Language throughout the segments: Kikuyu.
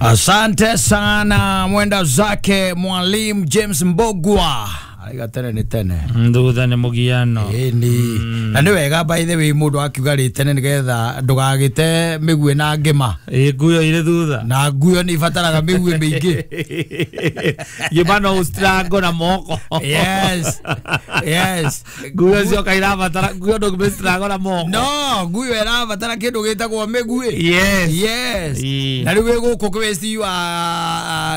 Asante sana mwenda zake Mwalimu James Mbogwa. Aiga tene ni tene. Thutha nĩ mũgiano. Ĩni. Na nĩ wega by the way mũndũ akiuga rĩ tene nĩgetha ndũgagĩte mĩguĩ na ngĩma. Ĩ nguyo irĩ thutha. Na nguyo nĩ ibataraga mĩguĩ mĩingĩ. Ngĩma no ũstrango na moko. Yes. Yes. Nguyo cioka irabatara nguyo ndũngĩmĩstrango na moko. No, nguyo ĩrabatara kĩndũ gĩtagwo mĩguĩ. Yes. Yes. Ĩ. Na rĩu wĩ gũkũ kwĩ wa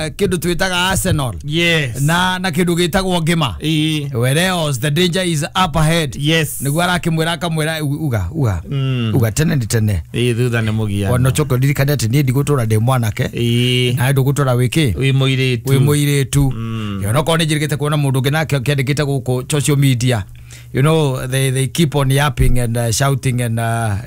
kĩndũ twĩtaga Arsenal. Yes. Na kĩndũ gĩtagwo ngĩma. Ĩ. Whereas the danger is up ahead. Yes. Nĩguo arakĩmwĩra akamwĩra uga uga. Uga tene ni tene. Ĩ thutha nĩ mũgiano. Ona coke ndirikane atĩ niĩ ndigũtũra ndĩ mwanake. Ĩ. Na ndũgũtũra wĩ kĩ? Wĩ mũirĩtu. Wĩ mũirĩtu. Ona okorwo nĩ njĩrĩgĩte kuona mũndũ ũngĩ nake akĩandĩkĩte gũkũ social media. You know, they keep on yapping and shouting and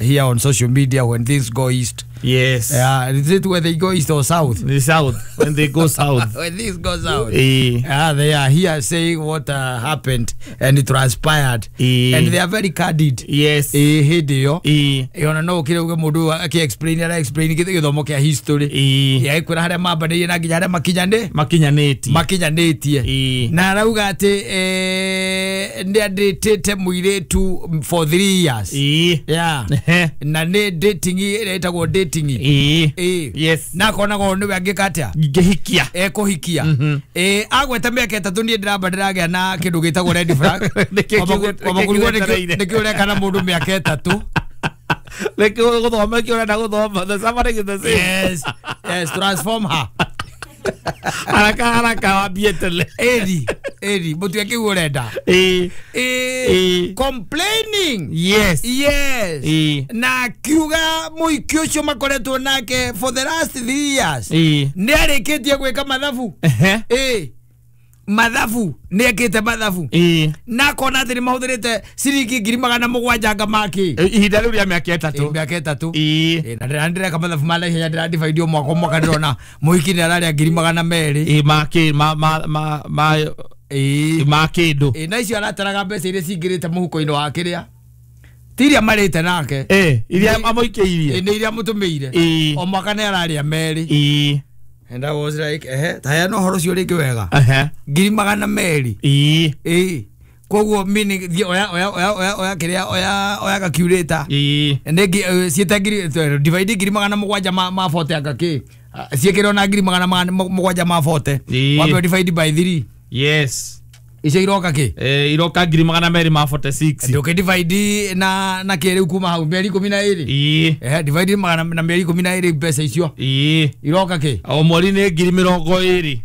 here on social media when things go east. Yes. Yeah, is it where they go east or south? The south. When they go south. When things go south. Ĩ. Yeah, they are here saying what happened and it transpired. Ĩ. And they are very candid. Yes. Ĩ hĩndĩ ĩyo. Ĩ. Ona no ũkire uge mũndũ akĩ explain ara explain gĩthomo kĩa history. Ĩ. Agĩkwĩra harĩa mambanĩirie na nginya harĩa makinyanĩ Makinyanĩtie. makinyanĩtie. Ĩ. Na arauga atĩ nĩ andĩtĩte mũirĩtu for 3 years. Ĩ. Yeah. Ehe. Na nĩ dating ĩrĩa ĩtagwo dating. Ĩ. Ĩ. Yes. Na akonaga ũyũ nĩwe angĩka atĩa? Ngĩhikia. Ekũhikia. Ĩ agweta mĩaka 3 niĩ ndĩramba ndĩragĩa na kĩndũ gĩtagwo red flag. Nĩkĩ Kwamba kũrigwo gĩetereire? nĩkĩ ũreka na mũndũ mĩaka 3. Nĩkĩ gũthoma kĩ ũrenda gũthoma? The suffering is the same. Yes. Yes, transform her. Haraka haraka wambie tene. Ĩri, ĩri, mũtue kĩu ũrenda. Ĩ. Ĩ, Ĩ. complaining. Yes. Yes. Ĩ. Na akiuga mũhiki ũcio makoretwo nake for the last 3 years. Ĩ. Nĩ arĩkĩtie gwĩka mathabu. Ehe. Ĩ. Mathabu, nĩ ekĩte mathabu. Ĩ. Na akona atĩ nĩ mahũthĩrĩte ciringi 700,000 anga makĩ. Ihinda rĩu rĩa mĩaka 3. Mĩaka 3. Ĩ. Na ndĩreka mathabu ma naihenya ndĩra divide o mwaka o mwaka ndĩrona mũhiki nĩ ararĩa 200,000. Ĩ ma kĩ ma ma ma ma Ĩ. ma kĩndũ. Ĩ na icio arataraga mbeca iria cingĩrĩte mũhuko-inĩ wa kĩrĩa. Ti iria marĩte nake. Ĩ, iria amũikĩirie. Ĩ nĩ iria mũtũmĩire. Ĩ. O mwaka nĩ ararĩa 2. Ĩ. And I was like, ehe, ta heana ũhoro ũcio rĩngĩ wega. Ehe. 200,000. Ĩ. Ĩ. Koguo meaning thiĩ oya oya oya oya oya kĩrĩa oya oya calculator. Ĩ. Nĩ ciĩte ngiri divide 700,000 ma 40 anga kĩ. Ciĩkĩrwo na 700,000 ma 40. Ĩ. Wambe divide by 3. Yes. Icio iroka kĩ? Iroka 246,000. Ndũkĩ divide na kĩ rĩu kuma hau mĩeri 12. Ĩ. Ehe, divide magana na mĩeri 12 mbeca icio. Ĩ. Iroka kĩ? O mweri nĩ 20,000.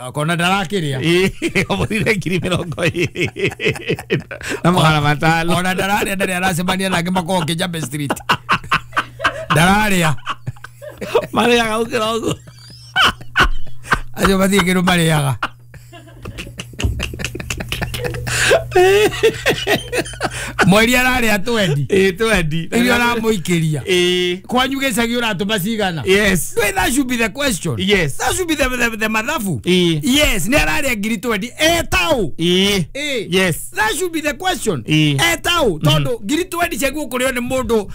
Akona ndarakĩrĩa. Ĩ, o mweri nĩ 25,500. Ona ndararĩa ndarĩ aracemania nake makoragwo Kijabe Street. Ndararĩa. Marĩaga gũkĩra ũguo. Acio mathiĩ kĩndũ marĩaga. Mweri ararĩa 20. Ĩ, 20. Iria ũramũikĩria. Ĩ. Kwanyu gĩcagi ũratũma cigana? Yes. Wait, that should be the question. Yes. That should be the mathabu. Ĩ. Yes, nĩ ararĩa 20,000. Etau. Ĩ. Ĩ. Yes. That should be the question. Ĩ. Etau tondũ 20,000 ciaguo kũrĩo nĩ mũndũ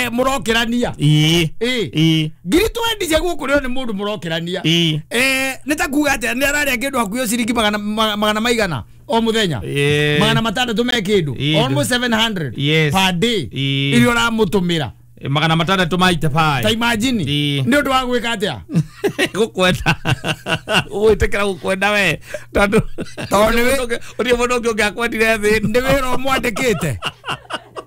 mũrokĩrania. Ĩ. Ĩ. Ĩ. 20,000 ciaguo kũrĩo nĩ mũndũ mũrokĩrania. Ĩ. Nĩ ta kuga atĩa nĩ ararĩa kĩndũ hakuhĩ ciringi magana maigana o mũthenya. Ĩ. 600 me kĩndũ. Ĩ. Almost 700 Yes. per day. Ĩ. Iria ũramũtũmĩra. 600 maita Ta pai. imagine. Ĩ. Nĩ ũndũ wa gwĩka atĩa? Gũkwenda. Ũgwĩtĩkĩra gũkwenda we. Tondũ Tondũ nĩ ũrĩ mũndũ ũngĩ ũngĩakwendire thĩ ĩno. Nĩ wĩra ũmwandĩkĩte.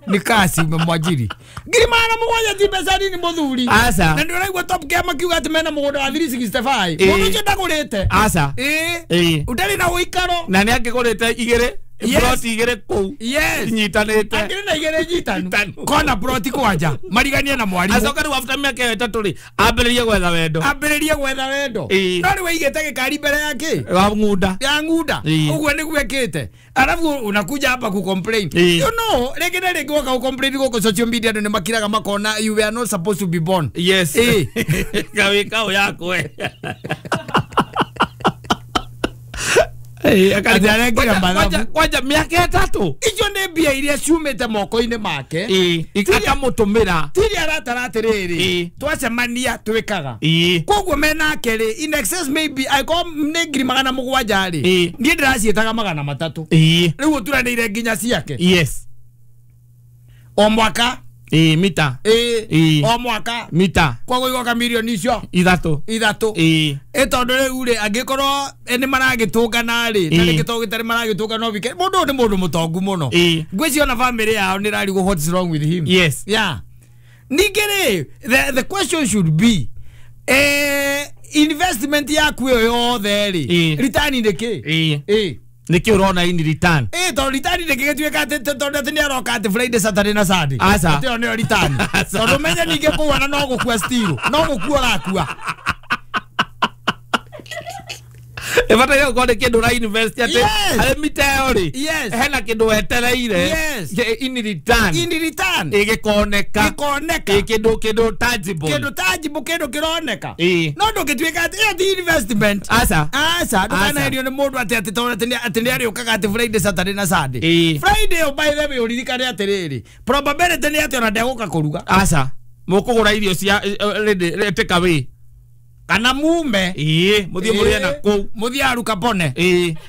Nĩ kasi umemwajiri. 700,000 ti mbeca nini mũthuri. Aca. Na nĩ ũraigua Top Gear makiuga atĩ mena mũgũnda wa 365. Ĩ. Mũndũ ũcio ndagũrĩte. Aca. Ĩ. Ĩ. Ũtarĩ na ũikaro. Na nĩ angĩgũrĩte igĩrĩ. Yes. Ploti igĩrĩ kũu. Yes. Inyitanĩte. Angĩrĩ na igĩrĩ nyitanu. Nyitanu. Kona ploti kwanja. Mariganie na mwarimũ. Acoka rĩu after mĩaka ĩyo 3 rĩ, ambĩrĩrie gwetha wendo. Ambĩrĩrie gwetha wendo. Ĩ. No rĩu aigĩte gĩkari mbere ya kĩ? Wa ng'unda. Ya ng'unda. Ĩ. Ũguo nĩguo ekĩte. Alafu unakuja hapa kucomplain. Ĩ. You know, rĩngĩ na rĩngĩ woka gũcomplain gũkũ social media andũ nĩ makiraga makona you were not supposed to be born. Yes. Ĩ. Kawĩka ũ yakwe. Atĩ arekĩra mathabu. Kwanja mĩaka 3 Icio nĩ mbia iria ciumĩte moko-inĩ make. Akamũtũmĩra. Tiri aratara atĩrĩrĩ, twacemania twĩkaga. Koguo menake rĩ, in excess maybe angĩkorwo nĩ 700,000 rĩ, niĩ ndĩraciĩtaga 300. Rĩu ũturanĩire nginya ciake. Yes. O mwaka. Mita. O mwaka. Mita. Koguo igoka mirioni icio 3. 3. Tondũ rĩu rĩ, angĩkorwo nĩ maragĩtũngana rĩ, na rĩngĩ to gĩtarĩ maragĩtũngana no wike, mũndũ ũyũ nĩ mũndũ mũtongu mũno. Ngwĩciria ona family yao nĩ ĩrarigwo what is wrong with him. Yes. Yeah. Ningĩ rĩ, the question should be, investment yaku ĩyo yothe rĩ, return nĩ kĩ? Nĩkĩ ũrona in return? Tondũ return nĩkĩ gĩtuĩka atĩ tondũ atĩ nĩ aroka atĩ Friday, Saturday na Sunday. Aca. Atĩ ĩyo nĩyo return. Tondũ menye ningĩ kũu ona no gũkua still, no gũkua ũrakua. Ĩbataire gũkorwo nĩ kĩndũ ũra invest atĩ harĩ mita ĩyo rĩ, hena kĩndũ wetereire in return. In return. Gĩkoneka. Gĩkoneka. Kĩndũ tangible. Kĩndũ tangible, kĩndũ kĩroneka. No ndũngĩtuĩka atĩ ĩyo ti investment. Aca. Aca, ndũkanaherio nĩ mũndũ atĩ atĩ tondũ atĩ nĩ arĩũkaga atĩ Friday, Saturday na Sunday. Friday ĩyo by the way ũririkane atĩrĩrĩ, probability nĩ atĩ ona ndegũka kũruga. Aca. Mũkũgũra irio cia take away. Kana mume. Mũthiĩ mũrĩe na kũu. Mũthiĩ aruka pone.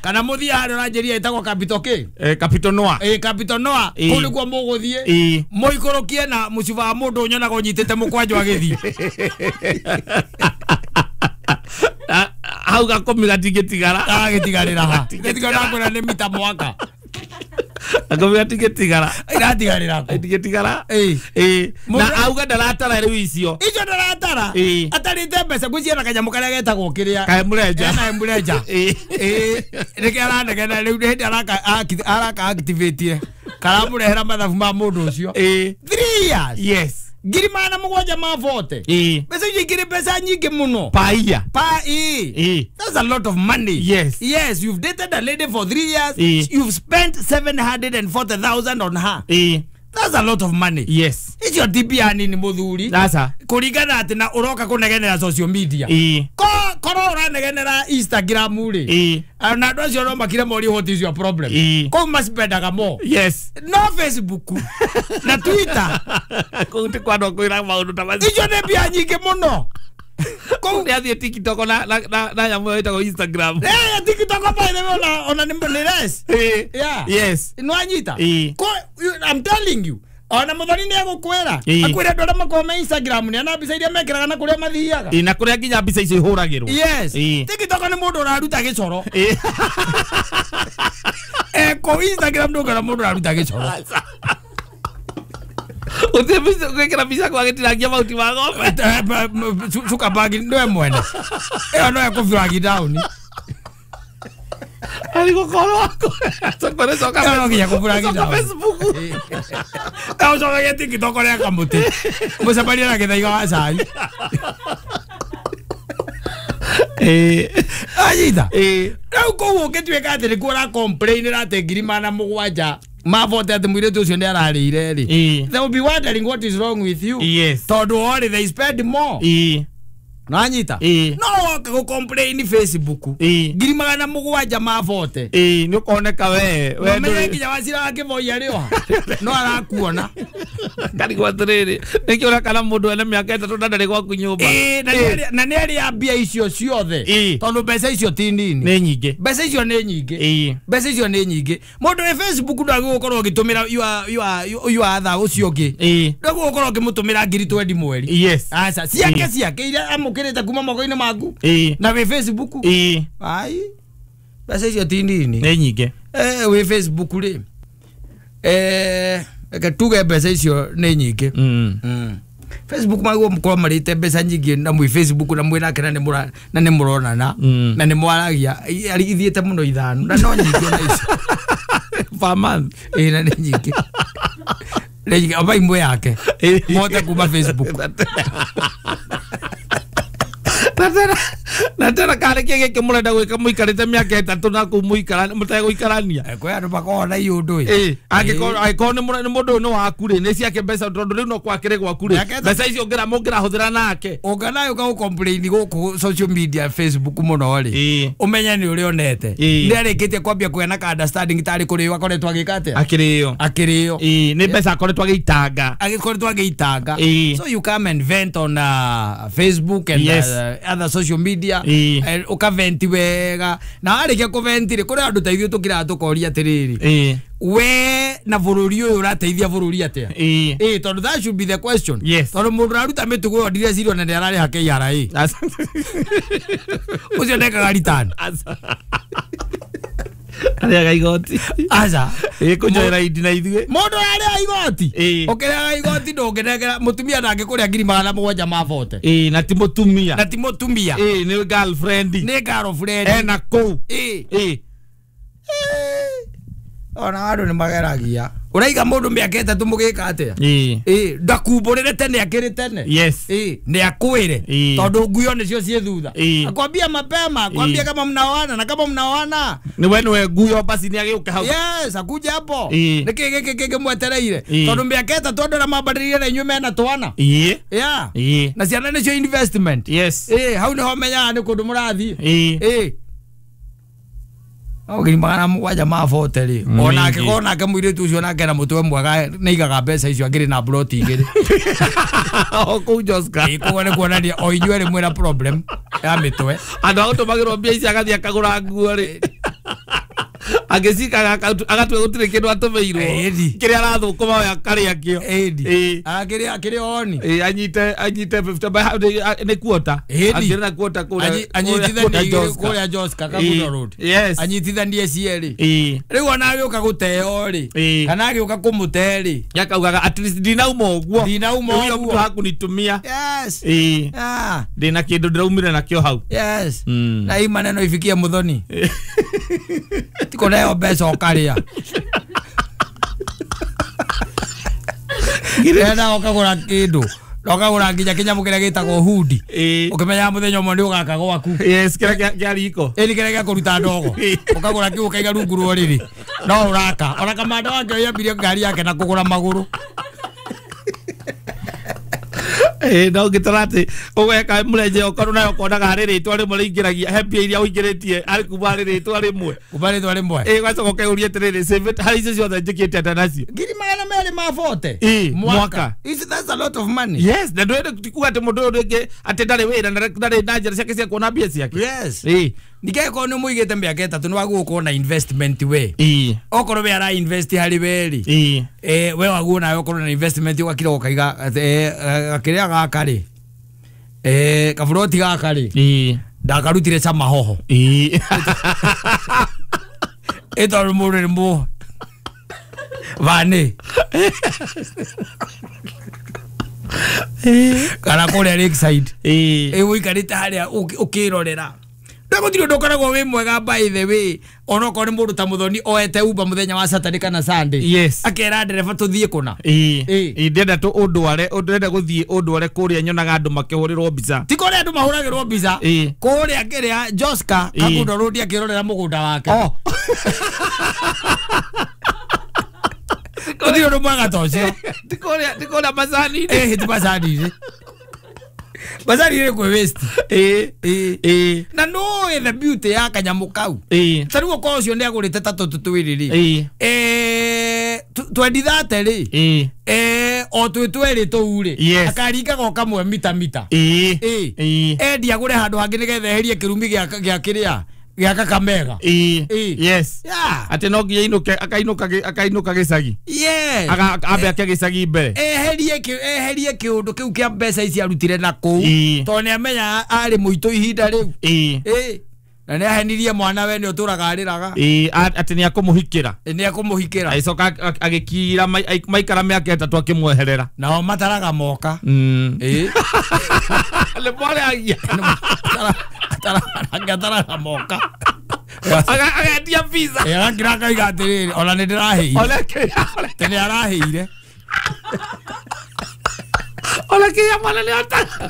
Kana mũthiĩ harĩa ũranjĩria ĩtagwo Capital K. Capital Noah. Capital Noah. Kũu nĩkuo mũgũthiĩ. Mũikũrũkie na mũcuba wa mũndũ ũnyonaga ũnyitĩte mũkwanjũ agĩthiĩ. Hau gakũmi gatingĩtigara. Gagĩtigarĩra ha. Gĩtigara kwĩra nĩ mita mwaka. Gakũmi gatingĩtigara. Iratigarĩra kũ? Itingĩtigara. Na auga ndaratara rĩu icio. Icio ndaratara. Atarĩte mbeca ngwĩciria na kanyamũ karĩa getagwo kĩrĩa. Kaemũrenja. Ena emũrenja. Nĩkĩo aranegena rĩu nĩ hĩndĩ araka activate. Karamũrehera mathabu ma mũndũ ũcio. 3 years. Yes. 740,000. Mbeca icio ikĩrĩ mbeca nyingĩ mũno. Paia. That's a lot of money. Yes. Yes, you've dated a lady for 3 years. You've spent 740,000 on her. That's a lot of money. Yes. Icio ti mbia nini mũthuri. Aca. Kũringana atĩ na ũroka kũnegenera social media. Korwo ũranegenera Instagram rĩ, na andũ acio no makire morie what is your problem. Kũu macipendaga more. Yes. No Facebook na Twitter. Kũu ti kwa andũ a kwĩra maũndũ ta macio. Icio nĩ mbia nyingĩ mũno. Kũu nĩ athiĩ TikTok na nyamũ ĩyo ĩtagwo Instagram. TikTok by the way ona nĩ less. Yeah. Yes. Nĩwanyita? I'm telling you. Ona mũthoni nĩ egũkwĩra. Akwĩre andũ arĩa makoragwo me Instagram nĩ ana mbica iria mekĩraga na kũrĩa mathiaga. Na kũrĩa nginya mbica icio ihũragĩrwo. Yes. TikTok nĩ mũndũ ũraruta gĩcoro. Kũu Instagram ndũngĩona mũndũ ũraruta gĩcoro. Ũthiĩ gwĩkĩra mbica kwa gĩtinangia mahuti ma ng'ombe. Zuckerberg nĩwe mwene. Ĩyo no ekũ down. Arĩ gũkorwo coka no nginya kũ down. Facebook. Ũcokagia TikTok rĩa kamũtĩ. Mũcemanie na gĩthaiga wa cai. Anyita. Rĩu kũu ũngĩtuĩka atĩ nĩkuo ũra complain atĩ 700,000 mavote atĩ mũirĩtu ũcio nĩ ararĩire rĩ, they will be wondering what is wrong with you. Yes. Tondũ orĩ they spend more. Nanyita? No woka gũ complain Facebook. 700,000 mavote. Nĩ ũkoneka we. Ũmenye nginya Wacira wa Kĩboi arĩ oha. No arakuona. Ngarigwo atĩrĩrĩ, nĩkĩ ũrakana mũndũ ena mĩaka 3 na ndarĩ gwaku nyũmba? Na nĩ arĩa mbia icio ciothe. Tondũ mbeca icio ti nini. Nĩ nyingĩ. Mbeca icio nĩ nyingĩ. Mbeca icio nĩ nyingĩ. Mũndũ wĩ Facebook ndagĩrĩirwo gũkorwo ũgĩtũmĩra your other ũcio ũngĩ. Ndagĩrĩirwo gũkorwo ũkĩmũtũmĩra 20,000 mweri. Yes. Aca, ciake iria amũkĩrĩte kuma moko-inĩ maku. Na wĩ Facebook. Ai. Mbeca icio ti nini. Nĩ nyingĩ. Wĩ Facebook rĩ. Reke tuge mbeca icio nĩ nyingĩ. Facebook maguo mũkorwo marĩte mbeca nyingĩ na mwĩ Facebook na mwĩ nake na nĩ mũronana na nĩ mwaragia ithiĩte mũno 5 na no nyingĩ ona icio. Per month. Na nĩ nyingĩ. Nĩ nyingĩ aba imwe yake. Mote kuma Facebook. Na tena kare kĩ gĩkĩ mũrenda gwĩka mũikarĩte mĩaka 3 na kũu mũikara mũtegũikarania. Kwĩ andũ makoragwo na iũndũ ĩ. Angĩkorwo nĩ mũndũ ũyũ nĩ waku rĩ, nĩ ciake mbeca tondũ rĩu no kwakĩrĩ gwaku rĩ, mbeca icio mũngĩrahũthĩra nake. Ũnganayo ũka gũ-complain gũkũ social media Facebook mũno rĩ, ũmenye nĩ ũrĩa onete. Nĩ arĩkĩtie kwambia kũgĩa na ka understanding tarĩ kũrĩo akoretwo agĩka atĩa? Akĩrĩo. Akĩrĩo. Nĩ mbeca akoretwo agĩitanga. Agĩkoretwo agĩitanga. So you come and vent on Facebook and other social media. Ũkaventi wega. Na warĩkia kũventi rĩ, kũrĩ andũ ta ithuĩ tũkĩraga tũkoria atĩrĩrĩ, we na bũrũri ũyũ ũrateithia bũrũri atĩa? Tondũ that should be the question. Tondũ mũndũ ũraruta mĩtugo ĩyo ndireciria ona nĩ ararĩha KRA. Ũcio ndekaga return. Arĩaga igoti. Aca. Kũnjoera indi na ithuĩ. Mũndũ ararĩha igoti. Ũkĩrĩaga igoti ndũngĩnengera mũtumia ndangĩkũrĩa 740,000. Na ti mũtumia. Na ti mũtumia. Nĩ girlfriend. Nĩ girlfriend. Ena kũu. Ona andũ nĩ mageragia. Ũraiga mũndũ mĩaka 3 mũgĩka atĩa? Ndakumbũrĩre tene akĩrĩ tene. Nĩ akwĩre. Tondũ nguo nĩcio ciĩ thutha. Akwambia mapema, akwambia kama mnaoana na kama mnaoana. Ni we nĩwe nguo basi nĩ agĩũka hau. Yes, akuja hapo. Nĩkĩ gĩkĩ kĩngĩ mwetereire? Tondũ mĩaka 3 andũ arĩa mambanĩrĩire na inyuĩ mena twana. Yeah. Na ciana nĩcio investment. Yes. Hau nĩho menyaga nĩ kũndũ mũrathiĩ. 740 rĩ, onake onake mũirĩtu ũcio nake na mũtwe mwega nĩaigaga mbeca icio akĩrĩ na ploti 2. O kũu Joska. Koguo nĩ kuonania o inyuĩ erĩ mwĩna problem ya mĩtwe. Andũ a gũtũmagĩrwo mbia ici agathiĩ akagũra nguo rĩ, agĩcikaga agatua gũtirĩ kĩndũ atũmĩirwo. Kĩrĩa arathũkũma we akarĩa kĩo. Akĩrĩ oni. Anyite 50 nĩ kuota. Akĩrĩ na kuota kũrĩa anyitithanie kũrĩa Joska Kagundo Road. Anyitithanie cierĩ. Rĩu ona agĩũka gũteo rĩ, kana agĩũka kũmũte rĩ, akaugaga at least ndinauma ũguo. Ndinauma ũguo. Mũndũ hakũnitumia. Yes. Ndĩna kĩndũ ndĩraumire nakĩo hau. Yes. Na hii maneno ifikie Muthoni. Tiko nayo mbeca ũkarĩa. Ena ũkagũra kĩndũ. Na ũkagũra nginya kĩnyamũ kĩrĩa gĩtagwo hudi. Ũkĩmenyaga mũthenya ũmwe nĩ ũgaka gwaku. Yes, kĩrĩa kĩa riko. Ĩni kĩrĩa gĩa kũruta ndogo. Ũkagũra kĩu ũkaiga rungu rwa ũrĩrĩ. No ũraka. Ona kamanda wake yambirie ngari yake na kũgũra magũrũ. No ngĩtara atĩ ũgeka mũrenje okorwo nayo ũkonaga harĩ rĩtwa rĩmwe rĩingĩragia he mbia iria ũingĩrĩtie harĩ kuma harĩ rĩtwa rĩmwe. Kuma rĩtwa rĩmwe. Ũgacoka ũkeyũria atĩrĩrĩ, save it harĩ icio ciothe njĩkĩte atĩa nacio? 240,000 mwaka. That's a lot of money. Yes, na ndũĩ ti kuga atĩ mũndũ ũyũ rĩngĩ atĩ ndarĩ wĩra na ndarĩ na njĩra ciake cia kuona mbia ciake. Yes. Ningĩ korwo nĩ mũigĩte mĩaka 3 nĩ wagũo gũkorwo na investment we. Okorwo we ara invest harĩ we rĩ, we waguo nawe ũkorwo na investment ũgakira ũkaiga gakĩrĩa gaka rĩ, kaburoti gaka rĩ, ndakarutire cama hoho. Tondũ mũndũ nĩ mũ vani kana kũrĩa Lakeside. Ũikarĩte harĩa ũkĩrorera. Ndagũtirĩ ũndũ ũkoragwo wĩ mwega by the way, onokorwo nĩ mũndũ ta Muthoni oete Uber mũthenya wa Saturday kana Sunday. Yes. Akera ndereba tũthiĩ kũna. Ndĩrenda ũndware, ndĩrenda gũthiĩ ũndware kũrĩa nyonaga andũ makĩhũrĩrwo mbica. Ti kũrĩa andũ mahũragĩrwo mbica. Kũrĩa kĩrĩa Joska Kagundo Road akĩrorera mũgũnda wake. Gũtirĩ ũndũ mwega ta ũcio. Ti kũrĩa macani-inĩ. Ti macani-inĩ. Macani-inĩ kwĩ waste. Na nũĩ the beauty ya kanyamũ kau. Ta rĩu okorwo ũcio nĩ agũrĩte ta tũtũ twĩrĩ rĩ, 2030 rĩ, o twĩ twerĩ tũu rĩ, akaringaga o kamwe mita mita. Endia agũre handũ hangĩ nĩgetha eherie kĩrumi gĩa kĩrĩa gĩa Kakamega. Yes. Atĩ no nginya ainũke, akainũka gĩcagi. Yes. Ambe ake gĩcagi mbere. Eherie kĩũndũ kĩu kĩa mbeca ici arutire na kũu. Tondũ nĩ amenya arĩ mũitũ ihinda rĩu. Na nĩ ahenirie mwana we nĩ ũtũraga arĩraga. Atĩ nĩ akũmũhikĩra. Nĩ akũmũhikĩra. Agĩcoka agĩkira maikara mĩaka 3 akĩmweherera. Nao mataraga moka. Nĩ mwareagia. Ataraga moka. Agendia visa. Agakira akauga atĩrĩrĩ, ona nĩ ndĩrahĩire. Tene arahĩire. Ona kĩrĩa mwana nĩ ataga.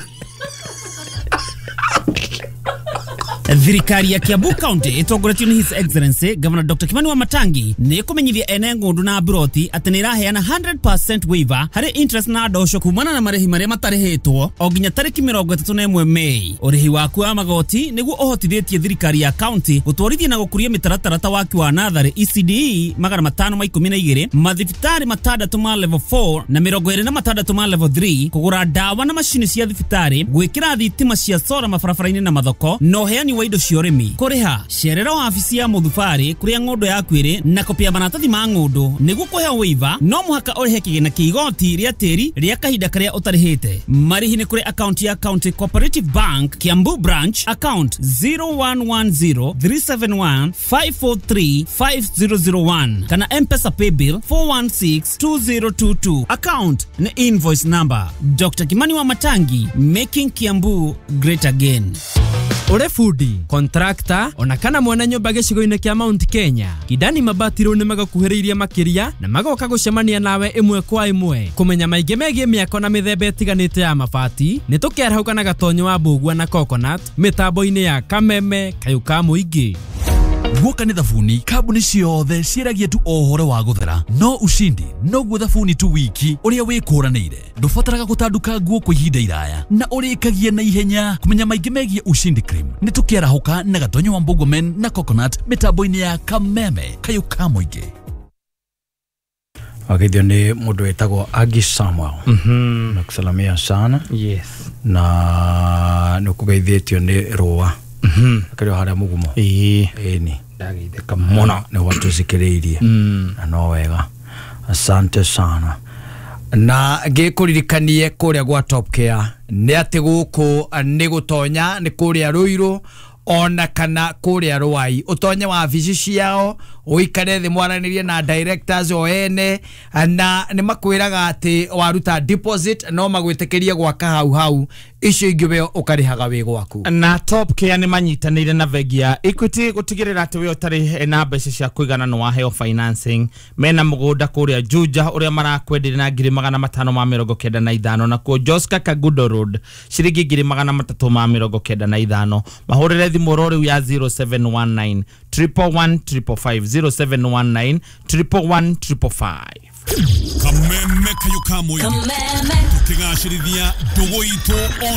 Thirikari ya Kiambu County ĩtongoretio nĩ His Excellency Governor Dr. Kimani Wamatangi nĩ ĩkũmenyithia ene ng'ũndũ na mburoti atĩ nĩ ĩraheana 100% waiver harĩ interest na ndosho kumana na marĩhi marĩa matarĩhĩtwo o nginya tarĩki 31 Mei. Ũrĩhi waku wa magoti nĩguo ũhotithĩtie thirikari ya county gũtwarithia na gũkũria mĩtaratara ta waki wa natharĩ ECDE 512, mathibitarĩ 6 ma level 4 na 26 ma level 3, kũgũra ndawa na macini cia thibitarĩ, gwĩkĩra thitima cia sora mabarabara-inĩ na mathoko, na ũheani wa indo cia ũrĩmi. Kũrĩha cerera wabici ya mũthubarĩ kũrĩa ng'ũndũ yaku ĩrĩ na kopi ya maratathi ma ng'ũndũ. Nĩguo kũheo waiver no mũhaka ũrĩhe kĩgĩna kĩa igoti rĩa tĩri rĩa kahinda karĩa ũtarĩhĩte. Marĩhi nĩ kũrĩ akaunti ya County Cooperative Bank Kiambu Branch, account 0110 371 543 5001 kana M-Pesa paybill 4162022, account ni invoice number. Dr. Kimani Wamatangi, making Kiambu great again. Ure fundi, contractor, ona kana mwana nyũmba gĩcigo-inĩ kĩa Mount Kenya, Kidani Mabati rĩu nĩmagũkuhĩrĩirie makĩria na magoka gũcemania nawe ĩmwe kwa ĩmwe kũmenya maingĩ megiĩ mĩako na mĩthemba ĩtiganĩte ya mabati. Nĩ tũkĩarahũka na Gatonyo wa Mbũgua na Coconut mĩtambo-inĩ ya Kameme Kayũ ka Mũingĩ. Guoka nĩ thabuni kambuni ciothe ciĩragia tu o ũhoro wa gũthera, no ushindi noguo thabuni tu wiki ũrĩa wĩkũranĩire. Ndũbataraga gũtanduka nguo kwa ihinda iraya na ũrĩkagia na ihenya. Kũmenya maingĩ megiĩ Ushindi Cream nĩ tũkĩarahũka na Gatonyo wa Mbũgua Men na Coconut mĩtambo-inĩ ya Kameme Kayũ ka Mũingĩ. Wageithio nĩ mũndũ wĩtagwo Agi Samuel. Nakusalamia sana. Yes. Na nĩ ũkũgeithĩtio nĩ Rũa. Akĩrĩ o harĩa mũgumo. Ĩni. Ndageithĩka mũno nĩ watũthikĩrĩirie. Na no wega. Asante sana. Na ngĩkũririkanie kũrĩa gwa Top Care nĩ atĩ gũkũ nĩ gũtonya nĩ kũrĩa Rũirũ ona kana kũrĩa Rwai. Ũtonye wabici ciao ũikare thĩ mwaranĩrie na directors o ene, na nĩ makwĩraga atĩ waruta deposit no magwĩtĩkĩrie gwaka hau hau, icio ingĩ we ũkarĩhaga wĩ gwaku. Na Top Care nĩ manyitanĩire na bengi ya Equity gũtigĩrĩra atĩ we ũtarĩ na mbeca cia kũigana nĩ waheo financing. Mena mũgũnda kũrĩa Juja ũrĩa marakwenderia na 595, na kuo Joska Kagudo Road ciringi 395. Mahũrĩre thimũ oro rĩu ya 0719 111 555, 0719 111 555. Kameme Kayũ ka Mũingĩ tukĩgacĩrithia ndũgũ itũ.